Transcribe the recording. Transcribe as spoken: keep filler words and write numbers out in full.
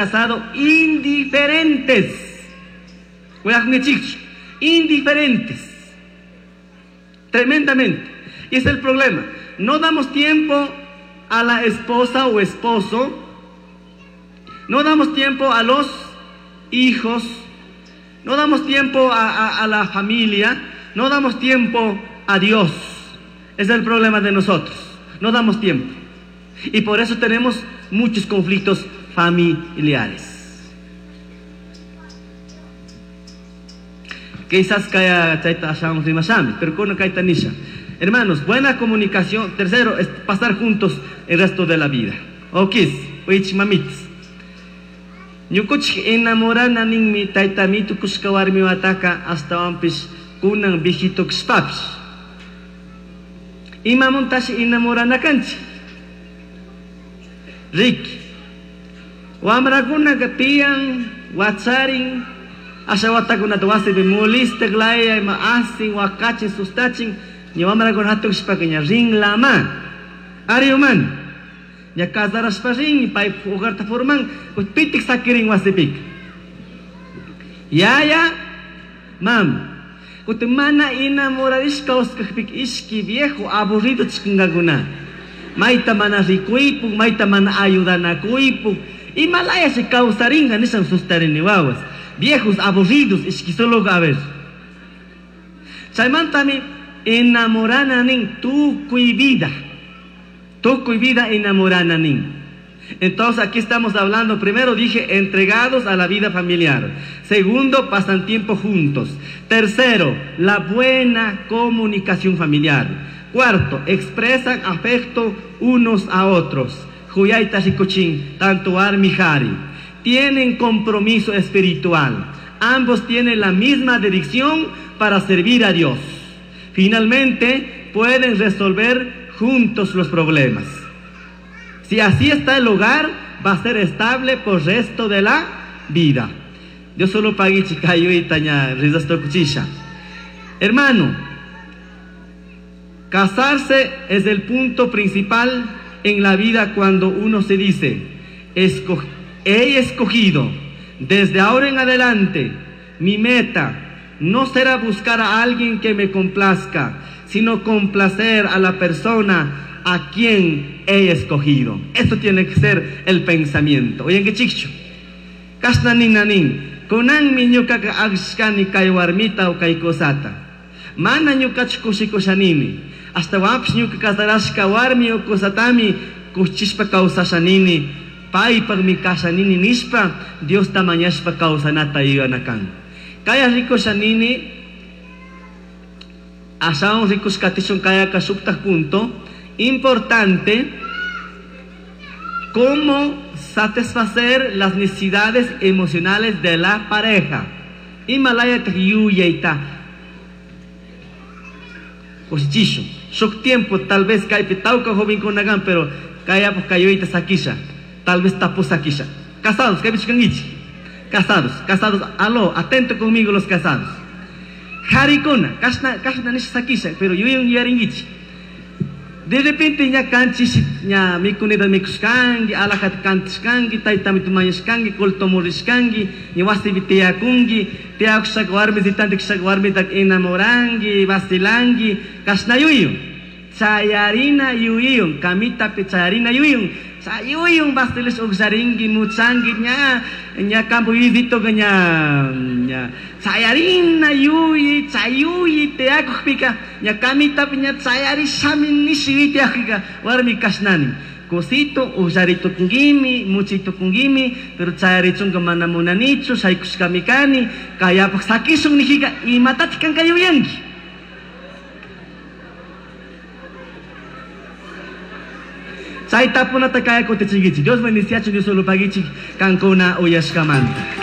Casado indiferentes. Indiferentes. Tremendamente. Y es el problema. No damos tiempo a la esposa o esposo. No damos tiempo a los hijos. No damos tiempo a, a, a la familia. No damos tiempo a Dios. Es el problema de nosotros. No damos tiempo. Y por eso tenemos muchos conflictos familiares. Quizás kaya chaita ashamos rimashami, pero con kaita nisha. Hermanos, buena comunicación. Tercero, es pasar juntos el resto de la vida. Okis, uich mamitis. Ñukuchik enamorana ninmi tayta mitu kushka warmi wataka astawanpish kunan viejito kashpapish. Imamuntashi enamorana kanchik. Riki. Wamrakunaka tiyan, wacharin, asha watakunata wasipi mulistak laya ima asin, wakachin, sustachin, ña wamrakuna hatun kashpaka ña rinlama. Ari uman. Ña casarashpa rin, pay hogarta forman, pitik sakirin wasipika. Yaya, mam. Kutin mana enamorarishka kawsakpika ishki viejo aburrido chikankakuna. Mayta mana rikuypuk, mayta mana ayudanakuypuk. Himalaya se causaringa nishan sustarini wawas. Viejos aburridos, ishki solo a ver. Chaymantami enamorana nin tukuy vida. Tukuy vida enamorana nin. Entonces aquí estamos hablando, primero dije, entregados a la vida familiar. Segundo, pasan tiempo juntos. Tercero, la buena comunicación familiar. Cuarto, expresan afecto unos a otros. Huyaita rikuchin, tanto warmi jari. Tienen compromiso espiritual. Ambos tienen la misma dirección para servir a Dios. Finalmente, pueden resolver juntos los problemas. Si así está el hogar, va a ser estable por el resto de la vida. Dios solo pague chicayo y taña rizastocuchisha. Hermano, casarse es el punto principal en la vida cuando uno se dice, Esco- he escogido desde ahora en adelante, mi meta no será buscar a alguien que me complazca, sino complacer a la persona a quien he escogido. Esto tiene que ser el pensamiento. Oye, ¿qué chicho? Kasna nin nanin, kunan mi ñukaka agshkani kay warmita o kay kosata. Mana ñukachu kushikushanini. Hasta wapish ñuka kasarashka warmi o kosatami kushishpa kawsashanini. Paypaqmi kashanini nishpa Diosta mañashpa kawsanata yuyanakan. Kaya rikushanini ashawan rikushkatishun kayaka shuktaj punto importante, cómo satisfacer las necesidades emocionales de la pareja. Himalaya yuyayta kushichishu. Shuk tiempo tal vez kaypi tawka jovenkunakan, pero kayapaj kayuyta sakisha. Tal vez tapu sakisha. Casados, kaypi chikankichik. Casados, casados, aló, atento conmigo los casados. Harikuna, kashna, kashna nisha sakisha, pero yuyun yuyarinkichik. De repente ña kanchis ña mikunita mikushkanki, alajata kantishkanki, taytami tumañashkanki, kultumurishkanki, ña wasipi tiyakunki, tiyakushaka warmisitantikshaka warmitaka enamoranki, vacilanki, kashna yuyun. Chayarina yuyun, kamitapi chayarina yuyun. Chayuyun vacilash uksharinki, muchanki, ña, ña campo yuyito ña, ña, chayarina yuyi, chayuyi tiyakukpika, ña kamitapi ña chayarishami nishi yuyi tiyakukpika, warmi kashnani. Cosito, uksharitukunkimi, muchitukunkimi, pero chayarichunka mana munanichu, shaykushkami kani, kayapaj sakishun nijika, imatatik kanka yuyanki. Chay tapunata kaya kutichinkichik. Dios bendiciachu, Dios solo pagichik, kankuna uyashkamanta.